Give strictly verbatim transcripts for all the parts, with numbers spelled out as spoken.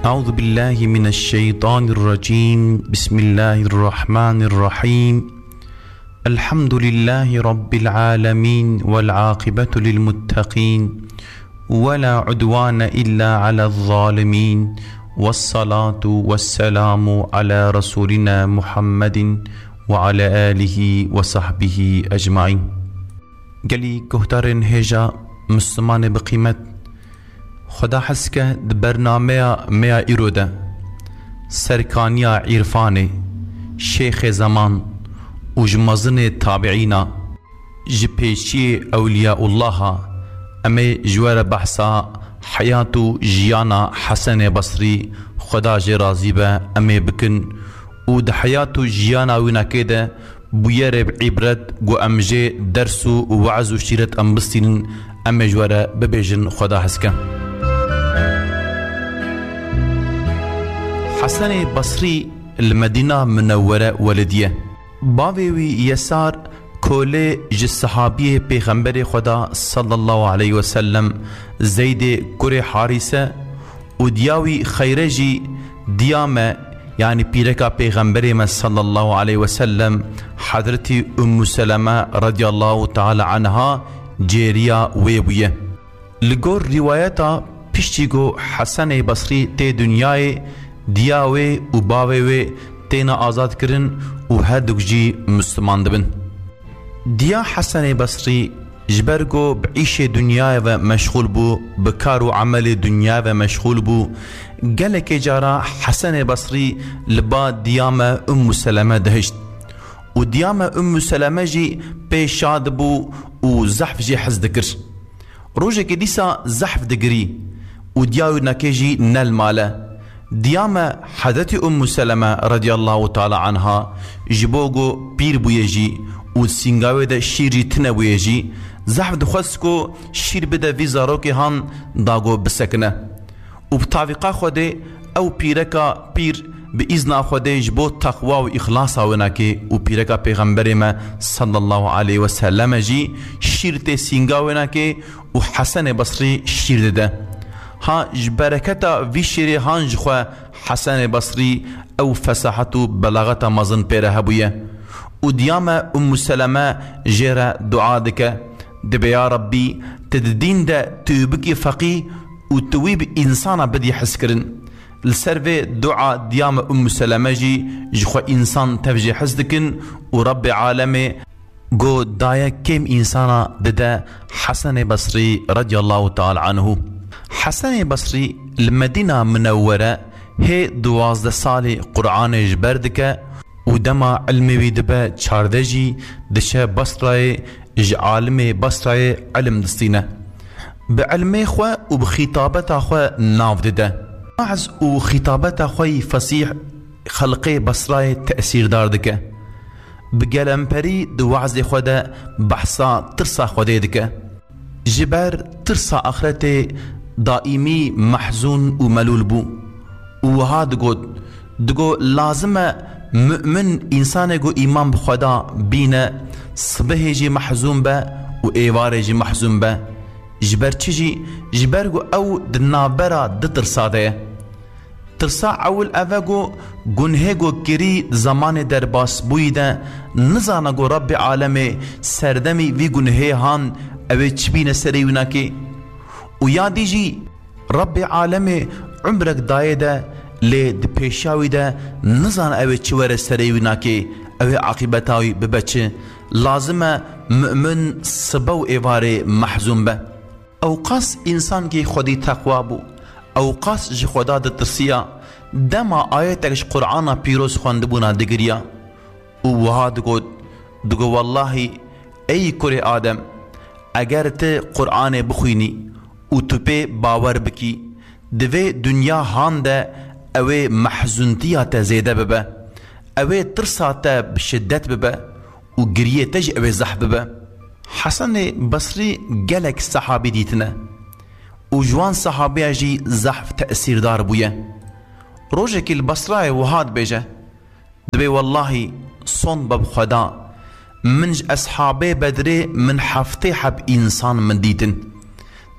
أعوذ بالله من الشيطان الرجيم. بسم الله الرحمن الرحيم. الحمد لله رب العالمين، والعاقبة للمتقين، ولا عدوان إلا على الظالمين، والصلاة والسلام على رسولنا محمد وعلى آله وصحبه أجمعين. Gelî guhdarên hêja, Mislimanê bi qîmet, Xweda hez ke di bernameya me ya îro de serkaniya îrfanê, şêxê zeman û ji mezinê tabiîna, ji pêşiyê ewliyaullaha, em ê ji we re behsa heyat û jiyana Hesenê Besrî, Xweda jê razî be, em ê bikin û di heyat û jiyana wî nekê de bûyerê bi îbret ku em jê ders û we'z û şîret em bistînin, em ê ji we re bibêjin Xweda hez ke. Hesenê Besrî li Medîna Minewwere welidî ye. Bavê wî Yesar kolê ji sehabiyê Pêxemberê Xweda sallallahu aleyhi ve sellem Zeydê kurê Harîse û diya wî Xeyre jî diya me, yanî pîreka Pêxemberê me sallallahu aleyhi ve sellem, Hezretî Ummu Seleme radiyallahu teala anha cêriya wê bûye. Li gor rîwayeta, piştî ku Hesenê Besrî tê dinyayê, diya wê û bavê wê têne azadkirin û herduk jî Misliman dibin. Diya Hesenê Besrî ji ber ku bi îşê dinyayê ve meşxûl bû, bi kar û emelê dinyayê ve meşxûl bû, gelekê cara Hesenê Besrî li ba diya me Ummu Seleme dihişt. Û diya me Ummu Seleme jî pê şa dibû û zehf jê hez dikir. Rojekê dîsa zehf digirî û diya wî nekê jî ne li mal e. Diya me Hezretî Ummu Seleme radiyallahu teala anha ji bo ku pîr bûye jî û sînga wê de şîr jî tune bûye jî, zehf dixwest ku şîr bide vî zarokê han da ku bisekine. Û bi tavîqa Xwedê ew pîreka pîr bi îzna Xwedê ji bo teqwa û îxlasa wê nakê û pîreka Pêxemberê me sallallahu aleyhi ve selleme jî şîr tê sînga wê nakê û Hesenê Besrî şîr dide. Ha ji bereketa vî şîrê han jixwe Hesenê Besrî ew fesahet û belaxeta mezin pê re hebûye. Û diya me Ummu Seleme jê re dua dike, dibe, ya Rabbî, tu di dîn de tu bikî feqî û tu wî bi însana bidî hizkirin. Li ser vê dua diya me Ummu Seleme jî ji xwe însan tev jê hez dikin û Rabbê alemê go daye kêm însana dide Hesenê Besrî radiyallahu teala anhu. Hesenê Besrî li Medîna Minewwere hê duwazdeh salî Qur'anê ji ber dike û dema ilmê wî dibe çardeh jî diçe Basrayê, ji alimê Basrayê ilim distîne. Bi ilmê xwe û bi xîtabeta xwe nav dide. We'z û xîtabeta xwe yî fesîh xelqê Basrayê tesîrdar dike. Bi gelemperî di we'zê xwe de behsa tirsa Xwedê dike. Ji ber tirsa axretê daîmî mehzûn û melûl bû û wiha digot, digo, lazim e mu'min, însanê ku îman bi Xweda bîne, sibehê jî mehzûn be û êvarê jî mehzûn be. Ji ber çi jî? Ji ber ku ew di navbera du tirsa de ye. Tirsa ewil ev e ku gunhê ku kirî di zemanê derbasbûyî de nizane ku Rabbê alemê serdemî vî gunhê han ew ê çi bîne serê wî nakê. Û ya dî jî Rabbê alemê umrek dayê de, lê di pêşiya wî de nizane ew ê çi were serê wî nakê, ew ê aqîbeta wî bibe çi. Lazim e mu'min sibe û êvarê mehzûn be. Ewqas însankî Xwedî teqwa bû, ewqas ji Xweda ditirsiya, dema ayetek ji Qur'ana pîroz xwendibûna digiriya û wiha digot, digo, wellahî, ey kurê Adem, eger tu Qur'anê bixwînî û tu pê bawer bikî, di vê dinya han de ew ê mehzûntiya te zêde bibe, ew ê tirsa te bi şiddet bibe û giriyê te jî ew ê zehf bibe. Hesenê Besrî gelek sehabî dîtine û ji wan sehabiya jî zehf tesîrdar bûye. Rojekî li Besrayê wiha dibêje, dibê, wellahî, sond be bi Xweda, min ji eshabê Bedrê min heftê heb însan min dîtin.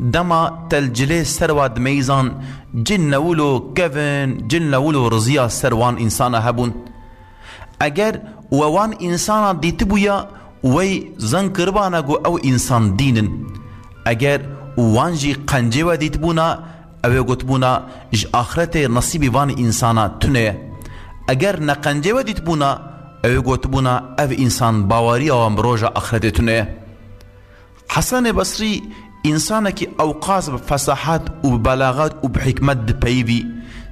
Dema te li cilê ser wa dimeyzan, cin newilo kevin, cin newilo riziya ser wan însana hebûn. Eger we wan însana dîtibûya, wey zan kiribana ku ew însan dîn in. Eger wan jî qencê we dîtibûna, ew ê gotibûna, ji axretê nesîbî van însana tune ye. Eger ne qencê we dîtibûna, ew ê gotibûna, ev însan baweriya wan bi roja axretê tune ye. Hesenê Besrî însanekî ewqas bi fesahet û bi belaxet û bi hikmet dipeyivî.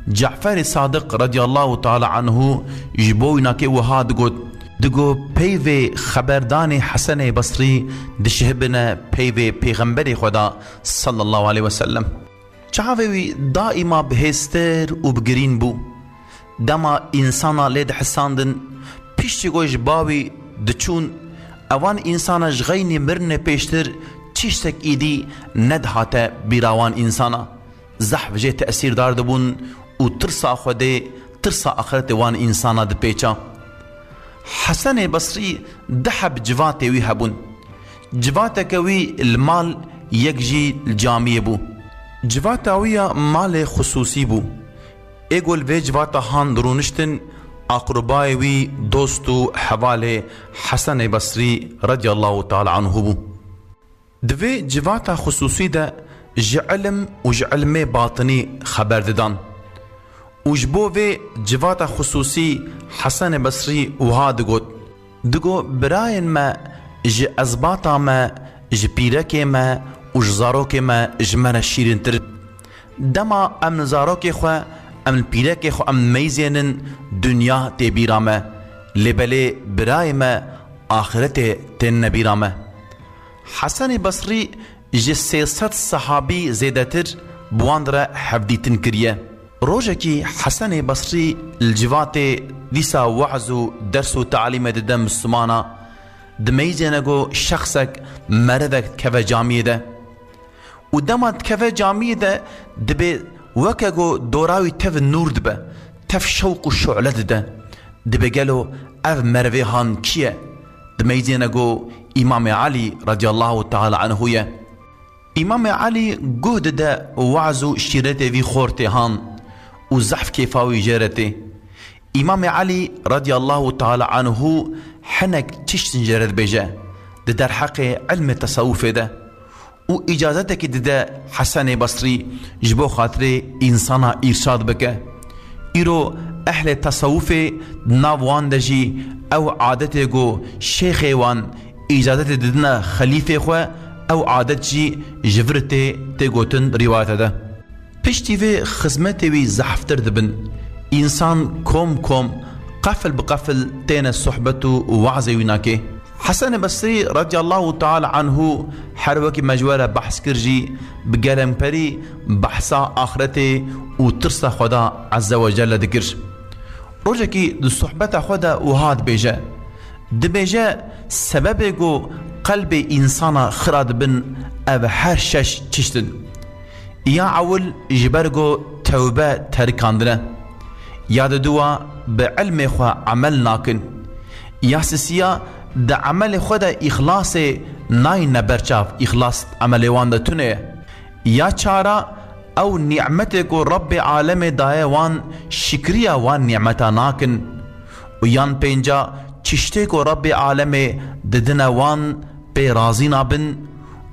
Caferê Sadiq radiyallahu teala anhu ji bo wî nakê wiha digot, digo, peyvê xeberdanê Hesenê Besrî dişihibine peyvê Pêxemberê Xweda sallallahu aleyhi ve sellem. Çavê wî daîma bi hêstir û bi girîn bû. Dema însana lê dihisandin, piştî ku ji ba wî diçûn, ewan însana ji xeynî mirinê pêştir tiştek îdî nedihate bîra wan însana. Zehf jê tesîrdar dibûn û tirsa Xwedê, tirsa axretê wan însana dipêça. Hesenê Besrî du heb civatê wî hebûn. Civateke wî li mal, yek jî li camiyê bû. Civata wî ya malê xisûsî bû. Ê ku li vê civata han dirûniştin, aqrubayê wî, dost û hevalê Hesenê Besrî radiyallahu teala anhu bû. Di vê civata xisûsî de ji ilim û ji ilmê batinî xeber didan. Û ji bo vê civata xisûsî Hesenê Besrî wiha digot, digo, birayên me ji ezbata me, ji pîrekê me û ji zarokê me ji me re şîrîntir in. Dema em li zarokê xwe, em li pîrekê xwe em meyzênin, dinya tê bîra me. Lê belê birayê me, axretê tên nebîra me. Hesenê Besrî ji sê sed sehabî zêdetir bi wan re hevdîtin kiriye. Rojekî Hesenê Besrî li civatê dîsa we'z û ders û talîmê dide Mislimana, dimeyzêne ku şexsek, merivek dikeve camiyê de. Û dema dikeve camiyê de, dibê weke ku dora wî tev nûr dibe, tev şewq û şu'le dide. Dibê gelo ev merivê han kî ye? Dimeyzêne ku Îmamê Elî radiyallahu teala anhu ye. Îmamê Elî guh dide we'z û şîretê vî xortê han û zehf kêfa wî jê re tê. Îmamê Elî radiyallahu teala anhu hinek tiştin jê re dibêje di derheqê ilmê tesewufê de û îcazetekî dide Hesenê Besrî ji bo xatirê însana îrşad bike. Îro ehlê tesewufê di nav wan de jî ew adetê ku şêxê wan îcazetê didine xelîfê xwe, ew adet jî ji vir tê, tê gotin rîwayete de. Piştî vê xizmetê wî zehftir dibin. Însan kom kom, qefil bi qefil têne sohbet û wazê wî nakê. Hesenê Besrî radiyallahu teala anhu her wekî me ji we re behs kir jî bi gelemperî behsa axretê û tirsa Xweda Azze ve Celle dikir. Rojekî di sohbeta xwe de wiha dibêje, dibêje, sebebê ku qelbê însana xira dibin ev her şeş çişt in. Ya ewil ji ber ku tewbe terikandine. Ya diduwa bi ilmê xwe emel nakin. Ya sisiya di emelê xwe de îxlasê nayne berçav, îxlas emelê wan de tune ye. Ya çara ew nîmetê ku Rebbê alemê daye wan şikriya wan nîmeta nakin. Û yan pênca çiştê ku Rebbê alemê didine wan pê razî nabin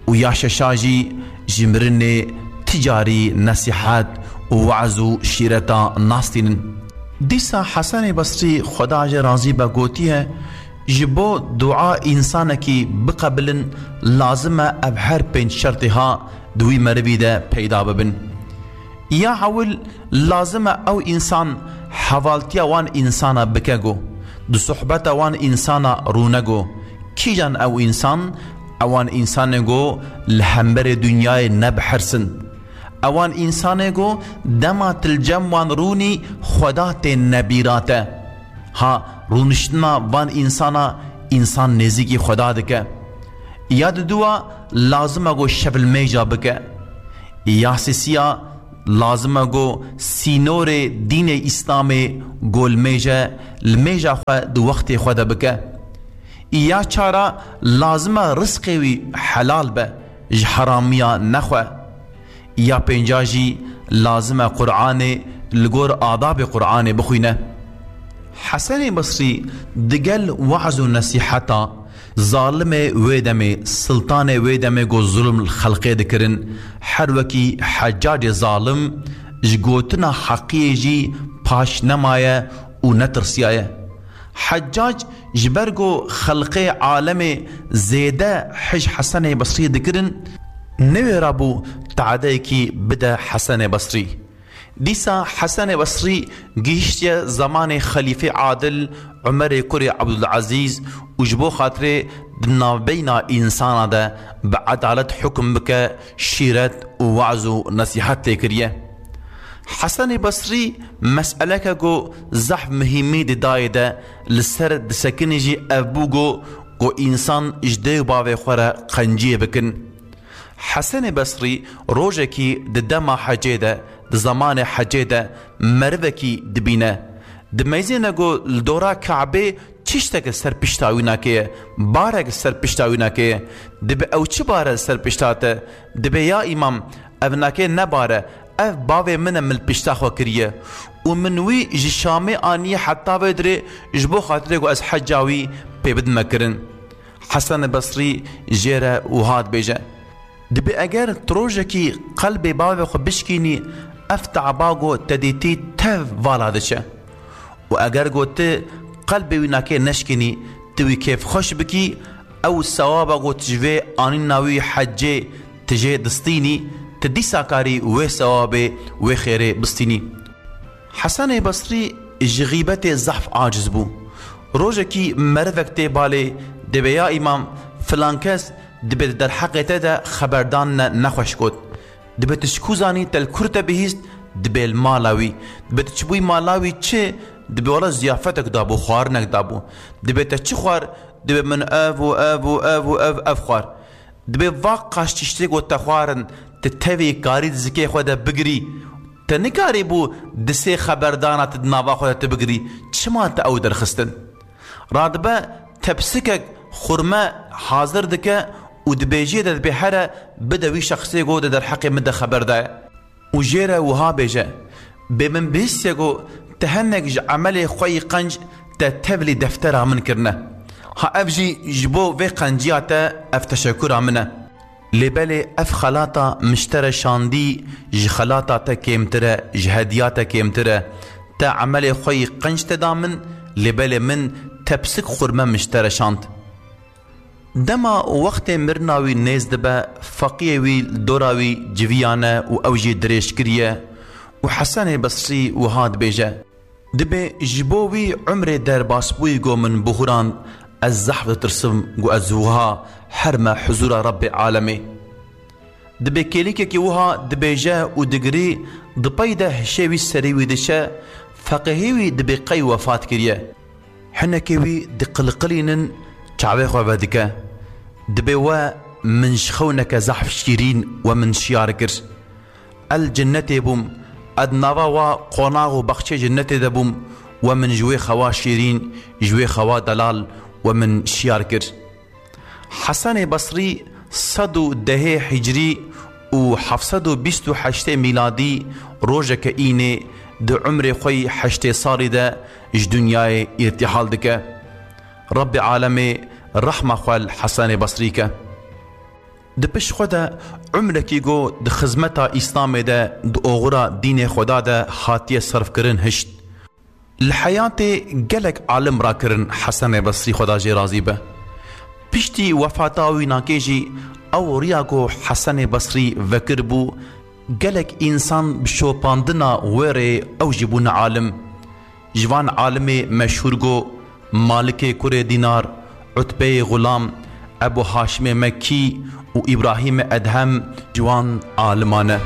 û ya şeşa jî ji mirinê ti carî nesîhet û we'z û şîreta nastînin. Dîsa Hesenê Besrî Xweda jê razî be gotiye, ji bo dua însanekî biqebilin lazim e ev her pênc şertê ha di wî merivî de peyda bibin. Ya ewil lazim e ew însan hevaltiya wan însana bike go, di sohbeta wan însana rûne go. Kîjan ew însan? Ewan însanê go li hemberê dinyayê nebihirsin. Ewan însanê go dema tu li cem wan rûnî Xweda tên nebîra te. Ha, rûniştina van însana însan nêzîkî Xweda dike. Ya diduwa lazim e go şev li mêja bike. Ya sisiya lazim e go sînorê dînê Îslamê go li mêje, li mêja xwe di wextê xwe de bike. Ya çara lazim e rizqê wî helal be, ji heramiya nexwe. Ya pênca jî lazim e Qur'anê li gor adabê Qur'anê bixwîne. Hesenê Basrî digel we'z û nesîheta zalimê wê demê, siltanê wê demê ku zulm li xelqê dikirin, her wekî Heccacê zalim ji gotina heqiyê jî paş nemaye û netirsiyaye. Heccac ji ber ku xelqê alemê zêde hij Hesenê Basrî dikirin, newêra bû teadeyekî bide Hesenê Basrî. Dîsa Hesenê Basrî gihiştiye zemanê Xelîfê Adil Umerê kurê Ebdulezîz û ji bo xatirê di navbeyna însana de bi edalet hukum bike, şîret û we'z û nesîhet tê kiriye. Hesenê Basrî meseleke ku zehf muhîmî di dayê de li ser disekinî jî ev bû ku, ku însan ji dê û bavê xwe re qenciyê bikin. Hesenê Basrî rojekî di dema hecê de, di zemanê hecê de merivekî dibîne. Dimeyzêne ku li dora Kabê tiştek li ser pişta wî nakeye, barek li ser pişta wî nakeye. Dibe ew çi bare li ser pişta te? Dibe ya îmam, ev nake ne bare, ev bavê min e, min li pişta xwe kiriye. Û min wî ji Şamê aniye heta vê dirê ji bo xatirê ku ez heca wî pê bidime kirin. Hesen Basrî jê re wiha dibêje, Dibe eger tu rojekî qelbê bavê xwe bişkînî, ev te'ba ku te dîtî tev vala diçe. Û eger ku tu qelbê wî nakê neşkînî, tu wî kêfxweş bikî, ew sewaba ku tu ji vê anîna wî hecê tu jê distînî, tu dîsa karî wê sewabê, wê xêrê bistînî. Hesenê Basrî ji xîbetê zehf aciz bû. Rojekî merivek tê balê, dibê ya îmam, filan kes dibe di derheqê te de xeberdan ne nexweş got. Dibe tu ji ku zanî te li kur te bihîst, dibe li mala wî. Dibe tu çibûyî mala wî çi, dibe wela ziyafetek dabû, xwarinek dabû. Dibe te çi xwar, dibe min ev û ev û ev û ev, ev xwar. Dibe va qaş tiştê ku te xwarin, tu tevî karî di zikê xwe de bigirî. Te nikarîbû di sê xeberdana tu di nava xwe de tu bigirî. Çima te ew derxistin? Radibe tepsikek xurme hazir dike û dibêjiyê de dibê here bide wî şexsê ku di derheqê min de xeber daye. Û jê re wiha bêje, Bê min bihîstiye ku te hinek ji emelê xwe yî qenc te tevlî deftera min kirine. Ha ev jî ji bo vê qenciya te ev teşekura min e. Lê belê ev xelata min ji te re şandî ji xelata te kêmtir e, ji hediya te kêmtir e. Te emelê xwe yî qenc te da min, lê belê min tepsik xurme min ji te re şand. Dema wextê mirina wî nêz dibe, feqiyê wî li dora wî civiyane û ew jî dirêj kiriye û Hesenê Besrî wiha dibêje, Dibê ji bo wî umrê derbasbûyî go min bihurand, ez zehf ditirsim go ez wiha herme huzûra Rebbê alemê. Dibê kêlîkekî wiha dibêje û digirî, di pey de hişê wî serê wî diçe, feqihê wî dibê qey wefat kiriye. Hinekê wî diqiliqilînin, çavê xwe vedike. Dibê we min ji xewneke zehf şîrîn we min şiyar kir. El cinnetê bûm, ez nava wa qonax û baxçê cinnetê de bûm, we min ji wê xewa şîrîn, ji wê xewa delal we min şiyar kir. Hesenê Besrî sed û dehê hicrî û heft sed û bîst û heştê mîladî rojeke înê di umrê xwe yî heştê salî de ji dinyayê îrtîhal dike. Rebbê alemê rehma xwe li Hesenê Besrî ke. Di pişt xwe de umrekî go di xizmeta Îslamê de di oxira dînê Xweda de hatiye serfkirin hişt. Li heyatê gelek alim rakirin Hesenê Besrî Xweda jê razî be. Piştî wefata wî nakê jî ew riya ku Hesenê Besrî vekiribû, gelek însan bi şopandina wê rê ew jî bûne alim. Ji van alimê meşhûr go Malikê kurê Dînar, Utbeyê Xulam, Ebû Haşimê Mekkî û Îbrahîmê Edhem ji wan aliman e.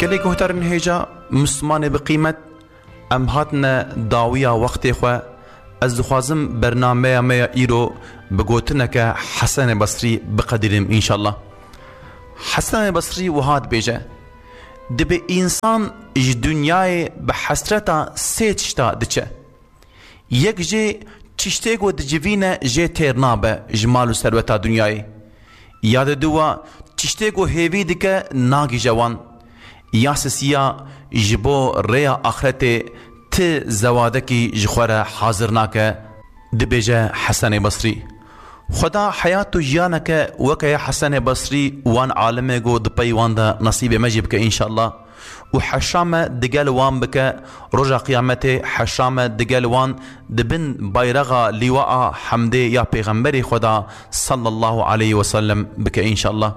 Gelê guhdarên hêja, Mislimanê bi qîmet, em hatine dawiya wextê xwe. Ez dixwazim bernameya me ya îro bi gotineke Hesenê Besrî biqedînim înşallah. Hesenê Besrî wiha dibêje, Dibê însan ji dinyayê bi hesreta sê tişta diçe. Yek jê Tiştê ku dicivîne jê têr nabe ji mal û serweta dinyayê. Ya diduwa, tiştê ku hêvî dike nagîje wan. Ya sisiya, ji bo rêya axretê ti zewadekî ji xwe re hazir nake, dibêje Hesenê Basrî. Xweda heyat û jiyaneke weke ya Hesenê Basrî wan alimê ku di pey wan de nesîbê me jî bike înşallah. Û heşa me digel wan bike, roja qiyametê heşa me digel wan di bin bayraxa lîwaa hemdê ya Pêxemberê Xweda sallallahu aleyhi ve sellem bike înşallah.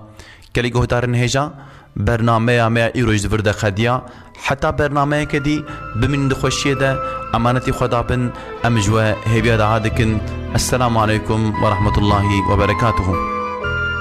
Gelî guhdarên hêja, bernameya me ya îro ji vir de qediya. Heta bernameyeke dî, bimînin di xweşiyê de, emanetî Xweda bin, em ji we hêviya daha dikin. Esselamu aleykum ve rahmetullahi ve berekatuhu.